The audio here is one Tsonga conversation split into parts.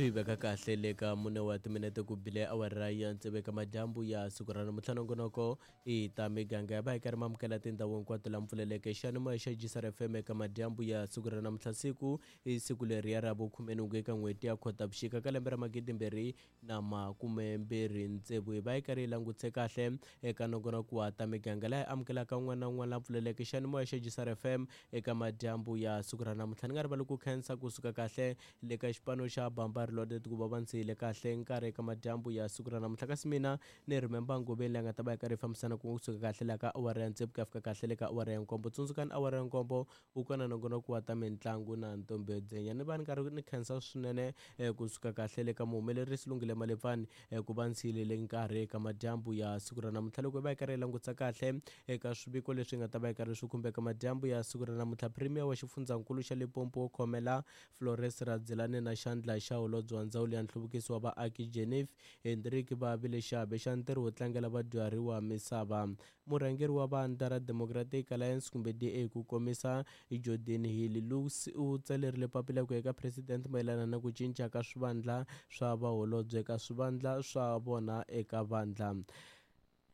Swi veka kahle le ka mune wa timinete ku bile awara ya tsevu eka madyambu ya siku ra namuntlha. Nongonoko i ta miganga ya va hi karhi mamukela tindhawu hinkwato la mpfuleleke xiyanimoya xa Gisar FM eka madyambu ya siku ra namuntlha. Siku i siku leriya ra vukhumenhungu eka n'hweti ya Khotavuxika ka lembe ra magidimbirhi na makumembirhi tsevu. Hi va hi karhi hi langutise kahle eka nongonoko wa ta miganga laha hi amukelaka un'wana na un'wana la pfuleleke xiyanimoya xa Gisar FM eka madyambu ya siku ra namuntlha. Ni nga rivali ku khensa kusuka kahle le ka xipano xa Bamba Reloaded ku va va ndzi yile kahle nkarhi eka madyambu ya siku ra namuntlha. Kasi mina ni Remember Ngobeni leyi nga ta va yi karhi yi fambisana kusuka kahle laha ka awara ya tsevu ku ya fika kahle le ka awara ya nkombo. Tsundzukani awara ya nkombo wu kona nongonoko wa ta mitlangu na Ntombi yo Dzenya. Ni va ni karhi ni khensa swinene kusuka kahle le ka muhumelerisi Lungile Malepfani ku va ndzi yilele nkarhi eka madyambu ya siku ra namuntlha. Loko hi va hi karhi hi langutisa kahle eka swiviko leswi nga ta va hi karhi swi khumbeka madyambu ya siku ra namuntlha, Premier wa xifundzankulu xa Limpopo wo khomela Flores Radzilani na xandla xa holobye wa ndzawulo ya nhluvukiso wa vaaki Jenif Hendrik va vile xiave xa ntirho wo tlangela vadyuhari wa misava. Murhangeri wa vandla ra Democratic Alliance kumbe DA ku komisa Geordin Hill-Lewis u tsalerile papila ku ya eka President mayelana na ku cinca ka swivandla swa vaholobye ka swivandla swa vona eka vandla.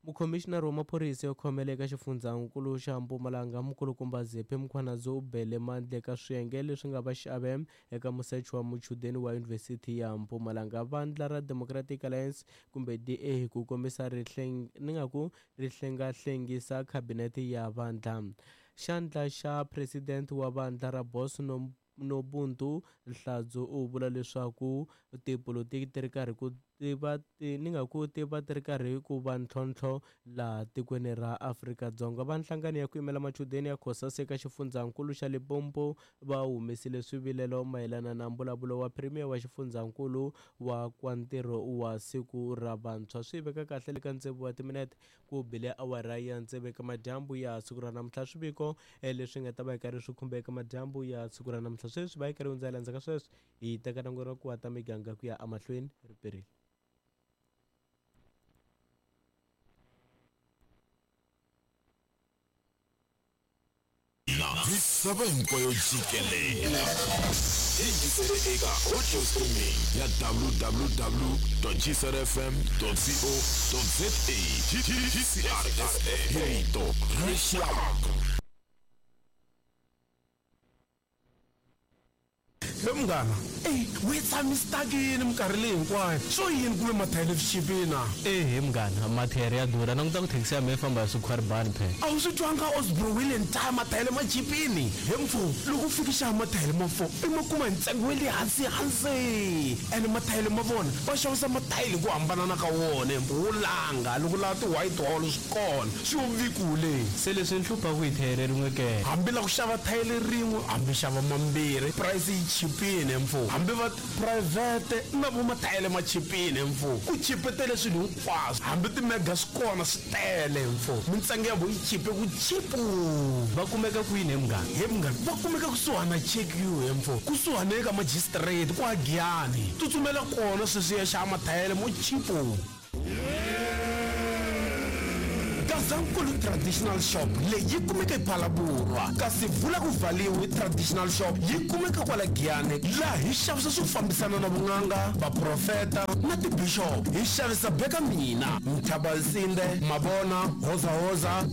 Mukhomixinari wa maphorisa yo khomela eka xifundzankulu xa Mpumalanga Mukulukumba Zephi Mkhwanazi u bele mandla eka swiyenge leswi nga va xiave eka musecho wa muchudeni wa Yunivhesiti ya Mpumalanga. Vandla ra Democratic Alliance kumbe DA hi ku komisa ri ni nga ku ri hlengahlengisa khabinete ya vandla. Xandla xa President wa vandla ra Boss Nobuntu Hladzo u vula leswaku tipolotiki ti ri karhi ku ti va ti ni nga ku ti va ti ri karhi ku va ntlhontlho laha tikweni ra Afrika-Dzonga. Va nhlangano ya ku yimela machudeni ya COSAS eka xifundzankulu xa Limpopo va humesile swivilelo mayelana na mbulavulo wa Premier wa xifundzankulu wa kwa ntirho wa siku ra vantshwa. Swi veka kahle le ka tsevu wa timinete ku bile awara ya tsevu eka madyambu ya siku ra namuntlha. Swiviko leswi nga ta va hi karhi swi khumba eka madyambu ya siku ra namuntlha sweswi va hi karhi hundzela endzhaku ka sweswo hi teka nongonoko wa ta miganga ku ya emahlweni ri perile. Na misava hinkwayo jikelele yingisele eka audio streaming ya www gcrfm co za GCRFM hi rito ra rixaka. He munghana, ey we tshami stuck-ini minkarhi leyi hinkwayo, swo yini ku ve mathayere swi chipile na? Ehe munghana, mathayere ya durha, languta ku thekisi ya mehe yi famba hi swikhwaribani phela. A wu swi twanga Osbro wheel and tire mathayere ma chipini? He mfo, loko u fika xava mathayere ma four i ma kuma hi ntsengo wa le hansi hansi, ene mathayere ma vona va xavisa mathayele hi ku hambanana ka wona he mfo, wo langa loko u lava ti-white hall swi kona, swi yo vikule. Se leswi ni hluphaku hi thayere rin'we ke? Hambi la ku xava thayele rin'we hambi xava mambirhi price yi chipile mfo, hambi va phurayivhete na vo mathayele ma chipile mfo, ku chipetele swilo hinkwaswo hambi ti-mega swi kona swi tele mfo, mintsengo ya vo yi chipe ku chipu. Va kumeka kwini he munghana? He munghana va kumeka kusuhani na Check You he mfo, kusuhani eka magistrate kwa Giyani, tsutsumela kona sweswi ya xava mathayele mo chipu. Gazankulu Traditional Shop leyi yi kumeka ePhalaborwa, kasi Vula ku Valiwe Traditional Shop yi kumeka kwala Giyani, laha hi xavisa swo fambisana na vun'anga, vaprofeta na tibishop. Hi xavisa Beka Mina, Mthabalsinde, Mabona, Hozahoza,